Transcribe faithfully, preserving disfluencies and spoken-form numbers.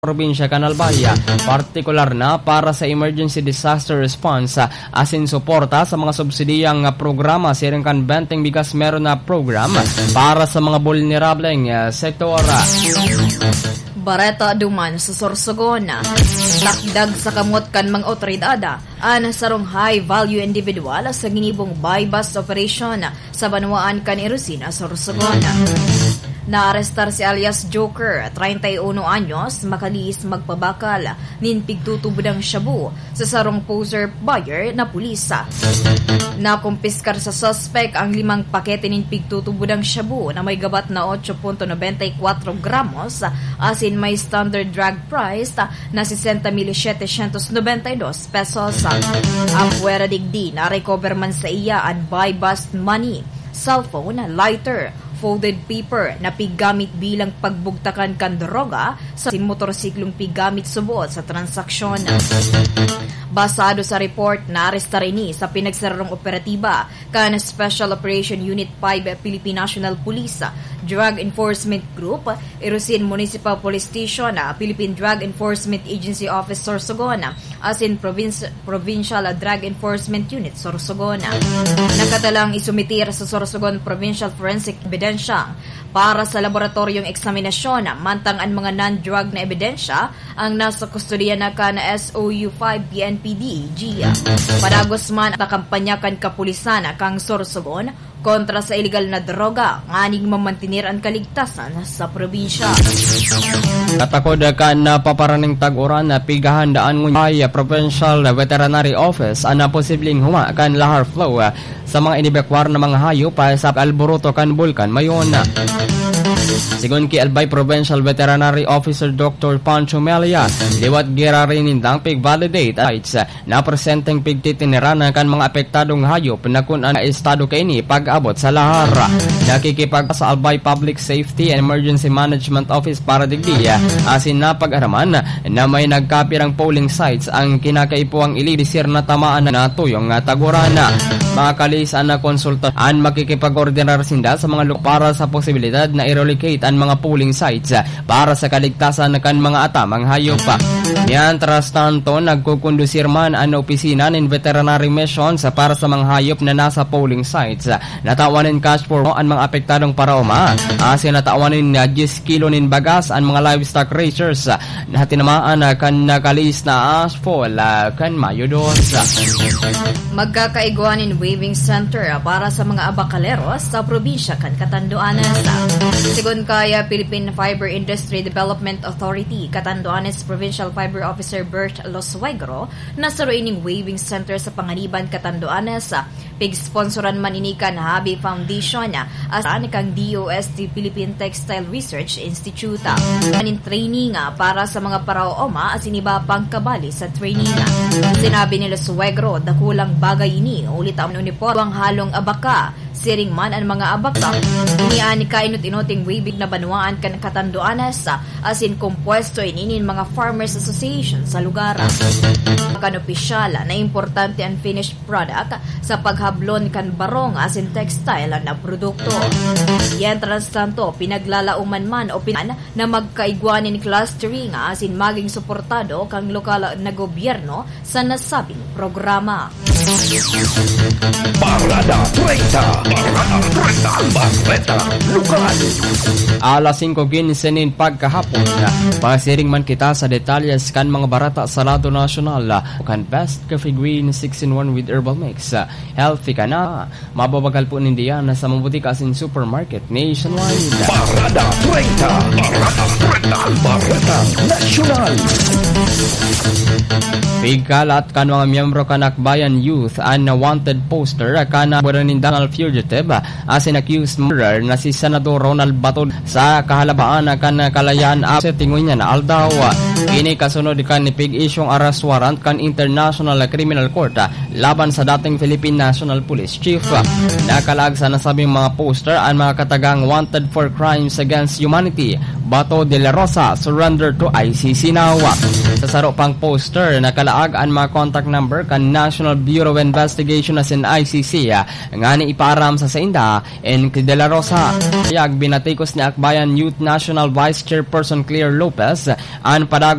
probinsya kan Albay, partikular na para sa emergency disaster response, asin suporta sa mga subsidiyang programa siring kan Benteng Bigas Meron na program para sa mga bulnerableng, ah, sektor. Bareta duman sa Sorsogon. Takdag sa kamot kan mga otoridad an sarong high-value individual sa ginibong buy-bust operation sa banwaan kan Erosina, Sorsogon. Naarestar si alias Joker, treinta y uno anyos, makalihis magpabakal nin pigtutubodang shabu sa sarong poser buyer na pulis. Nakumpiskar sa suspek ang limang pakete nin pigtutubodang shabu na may gabat na ocho punto nobenta y kwatro gramos, asin may standard drug price na sesenta mil setecientos nobenta y dos pesos. Apwera digdi, na-recover man saiya an buy-bust money, cellphone, lighter, folded paper na piggamit bilang pagbugtakan kan droga, asin motorsiklong piggamit subot sa transaksyon. Basado sa report, naarestar ini sa pinagsararong operatiba kan Special Operation Unit five Philippine National Police, Drug Enforcement Group, Irosin Municipal Police Station, Philippine Drug Enforcement Agency Office Sorsogon, asin Province-, Provincial Drug Enforcement Unit Sorsogon. Nakatalang isumitir sa Sorsogon Provincial Forensic Ebidensya para sa laboratoryong eksaminasyon, mantang an mga non-drug na ebidensya ang nasa kustodiya na kan S O U five P N P D E G. Padagos man an kampanya kan kapulisan kan Sorsogon kontra sa ilegal na droga, nganing mamantener an kaligtasan sa probinsya. Katakod kan napaparaning tag-uran, pighahandaan ngunyan kan Provincial Veterinary Office an posibleng huma kan lahar flu sa mga inibekwar na mga hayop sa alboroto kan Bulkan Mayon. Sigon ki Albay Provincial Veterinary Officer Doctor Pancho Melia, liwat giraray nindang pig-validate an sites na presenteng pigtitiniran kan mga apektadong hayop na kun ano estado kaini pag-abot sa lahar. Nakikipag sa Albay Public Safety and Emergency Management Office para digdi, asin napag-araman na may nagkapirang polling sites ang kinakaipuhang iligdi sira na tamaan na natuyong tag-uran. Makalihis an konsulta an makikipag-ordinar sinda sa mga lugar para sa posibilidad na i-relocate an mga polling sites para sa kaligtasan kan mga atamang hayop. Mientras tanto, nagkukondusir man an opisina nin veterinary missions para sa mga hayop na nasa polling sites. Natawan nin cash for an mga apektadong paraoma, asin natawan nin, ah, diyes kilo nin bagas an mga livestock raisers na tinamaan, ah, kan nakalihis na ashfall, ah, kan Mayo dos. Magkakaigwa nin weaving center, ah, para sa mga abakaleros sa probinsya kan Catanduanes. Sigon kaya Philippine Fiber Industry Development Authority, Catanduanes Provincial Fiber Officer Bert Losuegro, na saro ining weaving center sa Panganiban, Catanduanes, ah, pig-sponsoran man ini kan Habi Foundation, ah, asin kan D O S T Philippine Textile Research Institute. An training, ah, para sa mga paraoma asin iba pang kabali sa training. Sinabi ni Losuegro, dakulang bagay ini, huli ta an uniporme, halong abaka, siring man an mga abaka. Ini an kainot-inoting weaving na banwaan kan Catanduanes, asin kompuesto ini nin mga farmers association sa lugar. Kan opisyal na importante an finished product sa paghablon kan barong asin textile na produkto. Mientras tanto, pinaglalaoman man o pinan na magkaigwa nin clustering asin maging suportado kan lokal na gobyerno sa nasabing programa. Parada treinta. Parada treinta. Bareta Lokal. Alas singko quince nin pagkahapon, pasiring man kita sa detalles kan mga bareta sa lado nasyonal. Kan Best Coffee Green six-in-one with Herbal Mix. Healthy ka na. Mababagal po ninda yan sa mga butika asin supermarket nationwide. Parada treinta. Parada treinta. Bareta Nasyonal. Pigkalat kan mga miyembro kan Akbayan Youth an wanted poster kan buwan nindang fugitive asin accused murderer na si Senador Ronald Bato sa kahalabaan kan kalayaan sa tingon niya na aldaw. Ini kasunod kan pig-isyong arrest warrant kan International Criminal Court laban sa dating Philippine National Police Chief. Nakalaag sa nasabing mga poster an mga katagang wanted for crimes against humanity, Bato de la Rosa, surrender to I C C now. Sa saro pang poster, nakalaag an mga contact number kan National Bureau of Investigation asin I C C, ngani ipaaram sa sainda, N K de la Rosa. Pahayag, binatikos ni Akbayan Youth National Vice Chairperson Claire Lopez an padag